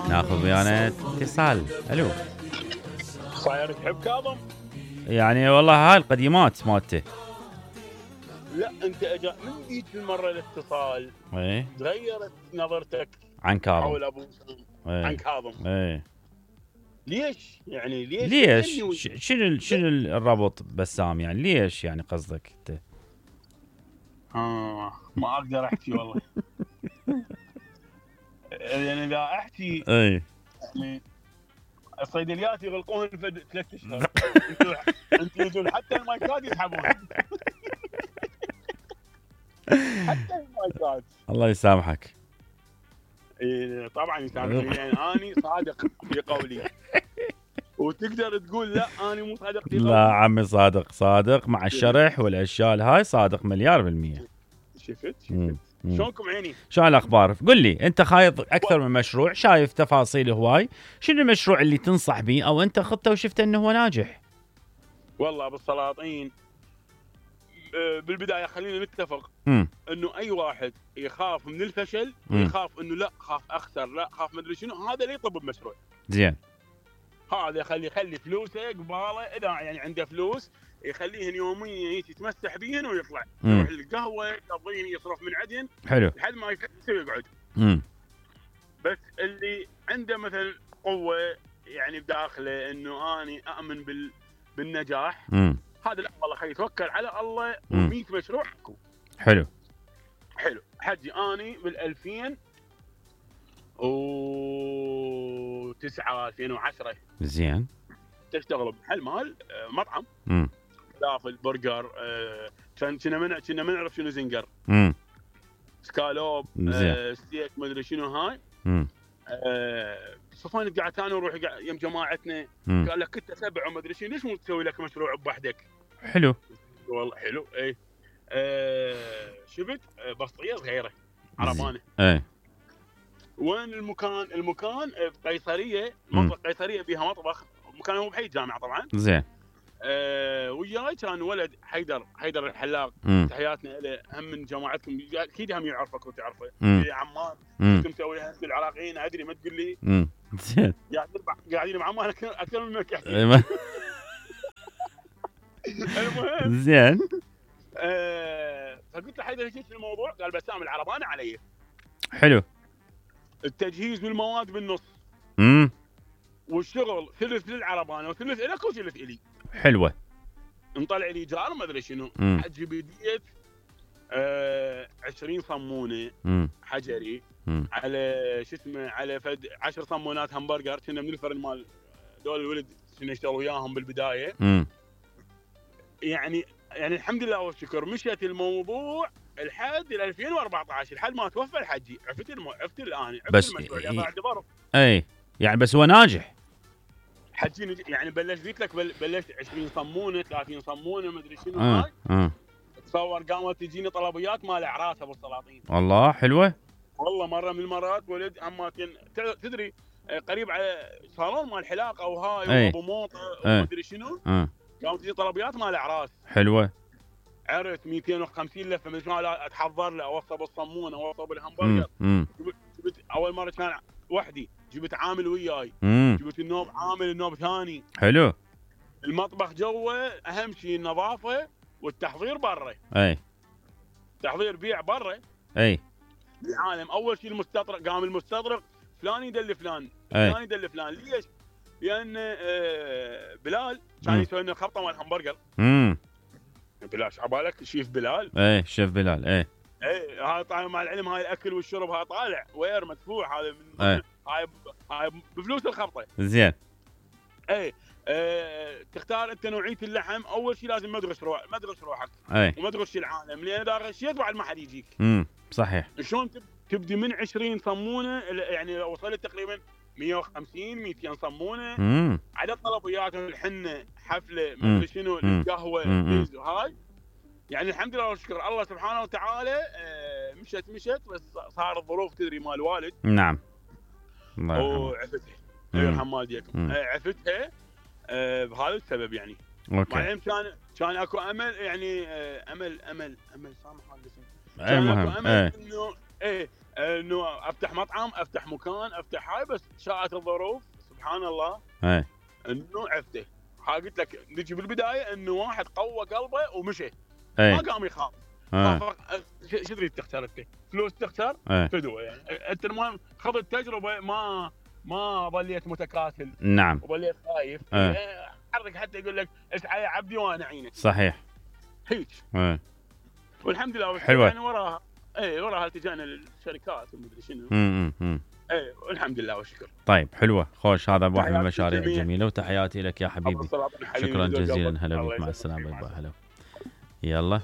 ناخذ ويانا اتصال. الو. صاير تحب كاظم؟ يعني والله هاي القديمات مالته. لا انت من ذيك المره الاتصال ايه تغيرت نظرتك عن كاظم حول ابو سام ايه. عن كاظم. ايه ليش؟ يعني ليش؟ شنو الربط بسام؟ يعني ليش يعني قصدك انت؟ ما اقدر احكي والله. يعني اذا احكي ايه يعني الصيدليات يغلقون في 3 اشهر. انتوا حتى المايكات يسحبون. حتى المايكات. الله يسامحك. إيه طبعا يسامحني لان اني صادق في قولي. وتقدر تقول لا انا مو صادق في قولي. لا عمي صادق مع الشرح والاشياء هاي صادق مليار بالمية. شفت شلونكم عيني؟ شو الاخبار؟ قل لي انت خايض اكثر من مشروع، شايف تفاصيل هواي، شنو المشروع اللي تنصح به او انت خطه وشفت انه هو ناجح؟ والله بالسلاطين بالبدايه خلينا نتفق انه اي واحد يخاف من الفشل ويخاف انه لا خاف اخسر لا خاف ما ادري شنو، هذا اللي يطب بمشروع. زين. هذا يخلي فلوسه قباله، اذا يعني عنده فلوس يخليهن يوميا يتمسح بيهن ويطلع يروح القهوه يقضيهن يصرف من عندهن. حلو. لحد ما يفلس ويقعد. بس اللي عنده مثلا قوه يعني بداخله انه اني اؤمن بالنجاح، هذا لا والله خليه يتوكل على الله و100 مشروع اكو. حلو حجي اني بال 2009 2010 زين تشتغل بمحل مال مطعم فلافل برجر. كنا ما نعرف شنو زنجر، سكالوب، ستيك ما ادري شنو هاي. صفان قعدت انا وروح يم جماعتنا قال لك كنت 7 وما ادري شنو، ليش مو تسوي لك مشروع بوحدك؟ حلو والله حلو. اي شفت بسطيه صغيره عربانه. اي وين المكان بقيصريه، منطقه قيصريه بيها مطبخ، مكان هو بحي الجامعه طبعا. زين. وياي كان ولد حيدر الحلاق. تحياتنا له، هم من جماعتكم اكيد هم يعرفك وتعرفه. عمان كنت مسوي العراقيين ادري ما تقول لي. زين. قاعدين مع عمان اكثر منك يحكي. المهم زين. فقلت له حيدر ايش الموضوع؟ قال بسام العربانه علي. حلو. التجهيز والمواد بالنص. والشغل ثلث للعربانه وثلث لك وثلث الي. حلوه. نطلع لي ايجار ما ادري شنو. حجي بديت 20 صمونه حجري على شو اسمه، على فد 10 صمونات همبرجر. كنا من الفرن مال دول الولد كنا نشتغل وياهم بالبدايه. يعني الحمد لله والشكر مشيت الموضوع لحد 2014 لحد ما توفى الحجي. عرفت الان بس المشروع اللي بعد ضرب. اي يعني بس هو ناجح. حجي يعني بلشت لك 20 صمونه 30 صمونه ما ادري شنو هاي. تصور قامت تجيني طلبيات مال اعراس ابو السلاطين. والله حلوه. والله مره من المرات ولد عماتين تدري قريب على صالون مال حلاق او هاي وابو موطه وما ادري شنو. قامت تجي طلبيات مال اعراس. حلوه. عرفت 250 لفه من شلون اتحضر له، اوصب الصمونه اوصب الهمبرجر. جبت اول مره كان وحدي، جبت عامل وياي. جبت النوب عامل النوب ثاني. حلو. المطبخ جوه اهم شيء النظافه والتحضير برا. اي تحضير بيع برا. اي العالم اول شيء المستطرق، قام المستطرق فلان يدل فلان فلان يدل فلان. ليش؟ لان بلال كان يسوي لنا خبطه مال همبرجر. بلال شعبالك شيف بلال. اي شيف بلال. اي هاي طالع مع العلم، هاي الاكل والشرب هاي طالع وير مدفوع. هذا من هاي بفلوس الخبطه. زين. اي تختار انت نوعيه اللحم. اول شيء لازم ما تغش روحك وما تغش العالم، لان اذا غشيت بعد ما حد يجيك. صحيح. شلون تبدي من 20 صمونه، يعني لو وصلت تقريبا 150 200 صمونه. عدد طلبياتهم الحنه حفله ما ادري شنو القهوه هاي. يعني الحمد لله والشكر الله سبحانه وتعالى. مشت بس صار الظروف تدري مال الوالد. نعم الله يرحمه وعفتها يرحم والديكم. عفتها بهذا السبب يعني. اوكي. مع كان اكو امل يعني. امل سامح الاسم. كان اكو امل انه انه افتح مطعم، افتح مكان، افتح هاي، بس شاءت الظروف سبحان الله اي انه عفته. ها قلت لك نجي بالبدايه انه واحد قوى قلبه ومشي، اي ما قام يخاف. شو تريد تختار انت؟ فلوس تختار؟ فدوه يعني. انت المهم خذ التجربه، ما ظليت متكاسل. نعم. وظليت خايف. حرك حتى يقول لك اسعى يا عبدي وانا اعينك. صحيح. هيك. والحمد لله حلوة. يعني وراها وراها التجانا للشركات ومدري شنو. والحمد لله والشكر. طيب حلوه، خوش، هذا واحد من المشاريع الجميله، وتحياتي لك يا حبيبي. شكرا جزيلا، هلا بك، مع السلامه. هلا. يلا.